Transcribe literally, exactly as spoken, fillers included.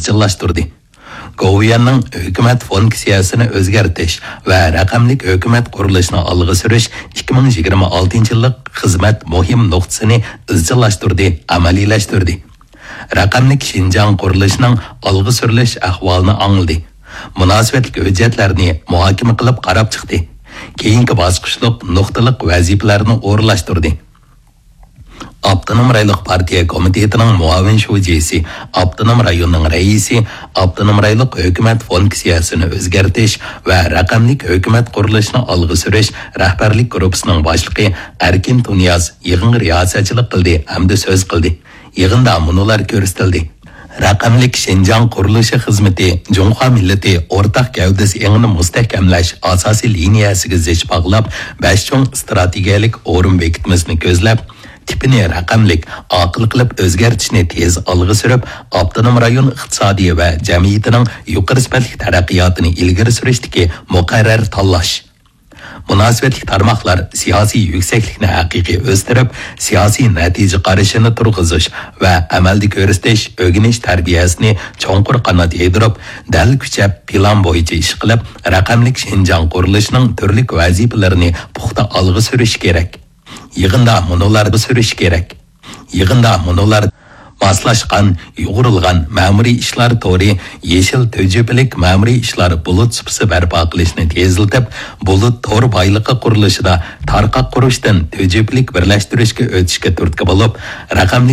ئىزچىللاشتۇردى. گوۋۇيۈەننىڭ ھۆكۈمەت فۇنكسىيەسىنى ئۆزگەرتىش ۋە رەقەملىك ھۆكۈمەت قۇرۇلۇشىنى ئالغا سۈرۈش ئىككى مىڭ يىگىرمە ئالتىنچى يىللىق خىزمەت مۇھىم نۇقتىسىنى ئىزچىللاشتۇردى، ئەمەلىيلەشتۈردى. رەقەملىك شىنجاڭ قۇرۇلۇشىنىڭ ئالغا سۈرۈلۈش ئەھۋالىنى ئاڭلىدى. مۇناسىۋەتلىك ھۆججەتلەرنى مۇھاكىمە قىلىپ قاراپ چىقتى. كېيىنكى باسقۇچلۇق نۇقتىلىق ۋەزىپىلەرنى ئورۇنلاشتۇردى. ئاپتونوم رايونلۇق پارتىيە كومىتېتىنىڭ مۇئاۋىن شۇجىسى، ئاپتونوم رايوننىڭ رەئىسى، ئاپتونوم رايونلۇق ھۆكۈمەت فۇنكسىيەسىنى ئۆزگەرتىش ۋە رەقەملىك ھۆكۈمەت قۇرۇلۇشىنى ئالغا سۈرۈش رەھبەرلىك گۇرۇپپىسىنىڭ باشلىقى ئەركىن تۇنىياز يىغىنغا رىياسەتچىلىك قىلدى ھەمدە سۆز قىلدى. يىغىندا مۇنۇلار كۆرسىتىلدى. رەقەملىك شىنجاڭ قۇرۇلۇشى خىزمىتى جۇڭخۇا مىللىتى ئورتاق گەۋدىسى ئېڭىنى مۇستەھكەملەش ئاساسىي لىنىيەسىگە زىچ باغلاپ، بەش چوڭ ئىستراتېگىيەلىك ئورۇن بېكىتمىسىنى كۆزلەپ، تىپىنى رەقەملىك، ئاقىل قىلىپ ئۆزگەرتىشنى تېز ئالغا سۈرۈپ، ئاپتونوم رايون ئىقتىسادى ۋە جەمئىيىتىنىڭ يۇقىرى سۈپەتلىك تەرەققىياتىنى ئىلگىرى سۈرۈشتىكى مۇقەررەر تاللاش. مۇناسىۋەتلىك تارماقلار سىياسىي يۈكسەكلىكنى ھەقىقىي ئۆستۈرۈپ، سىياسىي نەتىجە قارىشىنى تۇرغۇزۇش ۋە ئەمەلدە كۆرسىتىش، ئۆگىنىش تەربىيەسىنى چوڭقۇر قانات يايدۇرۇپ، دەل كۈچەپ پىلان بويىچە ئىش قىلىپ، رەقەملىك شىنجاڭ قۇرۇلۇشىنىڭ تۈرلۈك ۋەزىپىلىرىنى پۇختا ئالغا سۈرۈش كېرەك. يىغىندا مۇنۇلار سۈرۈش كېرەك. يىغىندا مۇنۇلار ماسلاشقان، يۇغۇرۇلغان مەمۇرىي ئىشلار تورى، يېشىل تۈجۈپىلىك مەمۇرىي ئىشلار بۇلۇت سۇپىسى بەرپا قىلىشنى تېزلىتىپ، بۇلۇت تور بايلىقى قۇرۇلۇشىدا تارقاق قۇرۇشتىن تۈجۈپىلىك بىرلەشتۈرۈشكە ئۆتۈشكە تۈرتكە بولۇپ، رەقەملىك